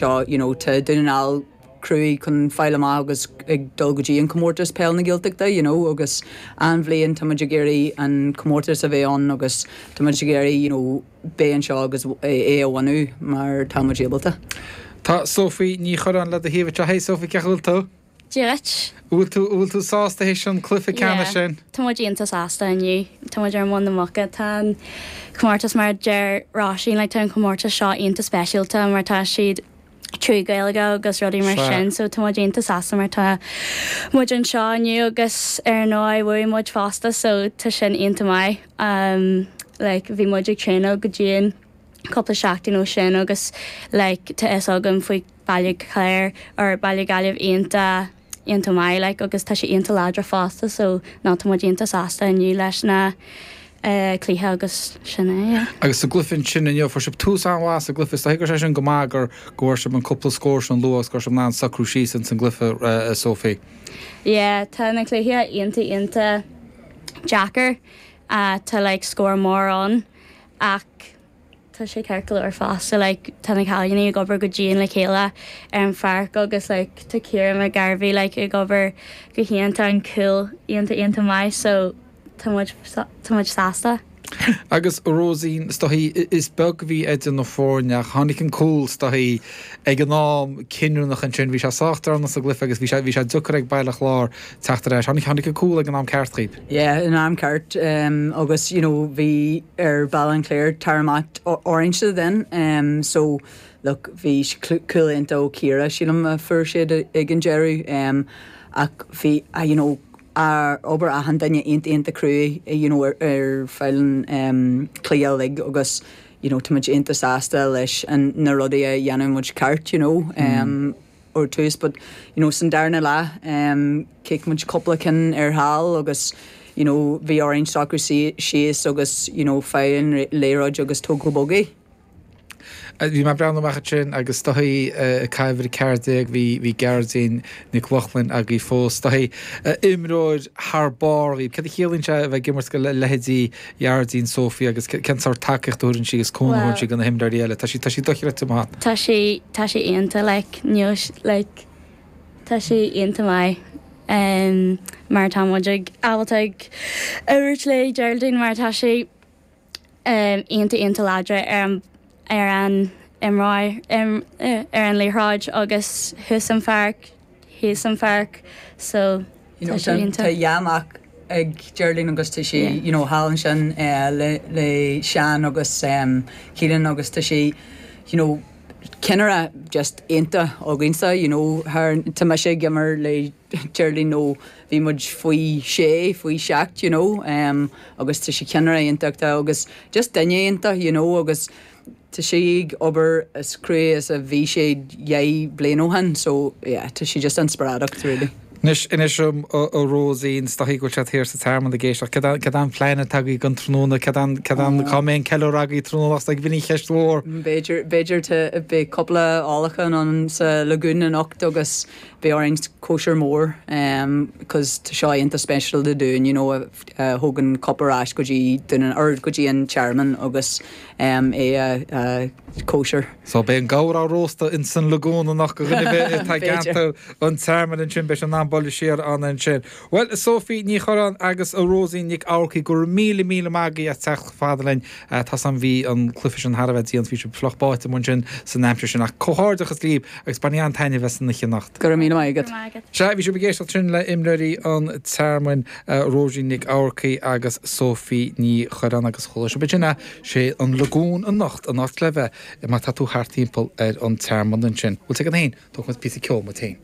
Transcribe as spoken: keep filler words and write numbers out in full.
seo you know, tá Dún na nGall cruaidh chun fáil amach agus ag dul go dtí an comórtas peil na Gaeltachta you know, agus an bhliain tá muid ag iarraidh an comórtas a bheith ann agus tá muid ag iarraidh you know, bheith anseo agus é a bhaint mar tá muid ábalta. Tá Sophie Ní Churráin le do thaobh anseo hey Sophie cén chaoi bhfuil tú? Duit. Bhfuil tú bhfuil tú sásta théis an cluiche ceannais sin? Tá muid iontach sásta inniu Tá muid ar muin na muca tá an comórtas mar deir Róisín le tá an comórtas seo iontach speisialta mar tá siad trí Gaeilge agus rudaí mar sin, so tá muid iontach sásta mar tá muid anseo inniu agus ar ndóigh bhuaigh muid fosta so tá sin iontach maith. Um, like, bhí muid ag traenáil go dian cúpla seachtain ó sin agus like, tá fhios agam faoi Baile Chláir or Baile Gaillimh iontach iontach maith like, agus tá sé iontach láidir fosta so ná tá muid iontach sásta inniu leis na uh, cluiche agus sin é. Yeah. Agus sa gcluiche sin inniu fuair sibh tús an-mhaith sa gcluiche gur sé sin go maith gur go bhfuair sibh an cúpla scór sin luath gur sibh in ann socrú síos in san gcluiche uh, Sophie. Yeah, tá na cluiche iontach iontach deacair uh, tá like, scór mór ann ach tá sé ceart go leor fosta like, tá na cailíní ag obair go dian le chéile ar an pháirc agus like, tá Ciara McGarvey like, ag obair go hiontach an cúl iontach iontach maith so tá muid tá muid sásta. Agus Róisín is dóichí is beag bhí idir na foirne tháinig an cúl is dóichí ag an am cinniúnach ansin bhí sé sách deireanach sa gcluiche agus bhí sé bhí sé deacair ag Baile Chláir teacht ar ais tháinig tháinig an cúl ag an am ceart dhaoibh. Yeah, in am ceart um, agus you know, bhí ar Baile an Chláir tar orange then um, so look bhí cúl iontach ó Ciara sílim a fuair siad ag an deireadh um, ach bhí uh, you know, ar obair achan duine iontach iontach cruaidh you know, ar, ar feadh an um, cluiche uilig agus you know, tá muid iontach sásta leis an na rudaí a dhéanamh muid ceart you know, um, mm. tús, but you know, san darna leath um, chic muid cúpla ceann ar thall agus you know, bhí orainn socrú síos agus you know, fáil an liathróid agus tóg go bog é. Bhí mé breathnú amach sin agus dóichí caiimh ceirdeag bhí bhí Geraldine Nic Lochlainn agaibh fós dóichí imreoir thar barr í. Cad a chiallaíonn sé bheith ag imirt go le leithéidí Geraldine Sophie agus cén sórt tacaíocht a thugann sí agus cúnamh sí do na himreoirí eile, Tá sí tá sí dochreidte maith. Tá sí tá sí iontach like, news like, tá sí iontach maith. Um, mar tá muid ag ábalta ag imirt le Geraldine mar tá sí um, iontach iontach láidir ar an ar an imreoir ar an liathróid agus thuas an pháirc thíos an pháirc so You know, tá tá dhá mhac ag Geraldine agus tá sí you know, thall ansin uh, le, le Seán agus um, Keelan agus tá sí you know, ceannaire just iontach againsa you know, thar tá mise ag imirt le Geraldine nó bhí muid faoi sé faoi seacht you know, um, agus tá sí ceannaire iontach agus just duine iontach you know, agus tá sí ag obair as cruaidh is a bhí sé dhá bliain ó shin so yeah, tá sí just inspioráideach really. Anois inis dom a Róisín is dóichí go bhfuil sé thiar sa Tearmann ag éisteacht cad an plean atá agaibh don tráthnóna cad an cad an cá mbeidh an ceiliúradh agaibh tráthnóna ag bhí cheist mhór. B'fhéidir b'fhéidir beidh cúpla ólachán ann sa Lagoon anocht agus beidh orainn cóisir mór um, cos tá seo iontach speisialta dúinn you know, uh, thug an cup ar ais go dtí dún or go dtí an Tearmann agus um, é a uh, cóisir. So beidh an gabhar á róstadh in san Lagoon anocht go tá ceantar an Tearmann ansin beidh an an siar an ansin. Well Sophie Ní Churráin agus a Róisín Nic Eamharcaigh go míle míle maith agaibh as teacht fada linn tá an bhí an cluiche sin thar a bheith dian bhí sé fliuch báite mar sin san aimsir sin ach comhghairdeachas libh agus bain an-taitneamh as an anocht. Go míle maith agat. Se bhí sibh ag éisteacht sin le imreoirí an Tearmainn Róisín Nic Eamharcaigh agus Sophie Ní Churráin agus chuala sibh sin sé an Lagoon anocht an áit le bheith má tá tú thart timpeall ar an Tearmann ansin. Bhfuil an féin tógfaidh píosa ceoil muid féin.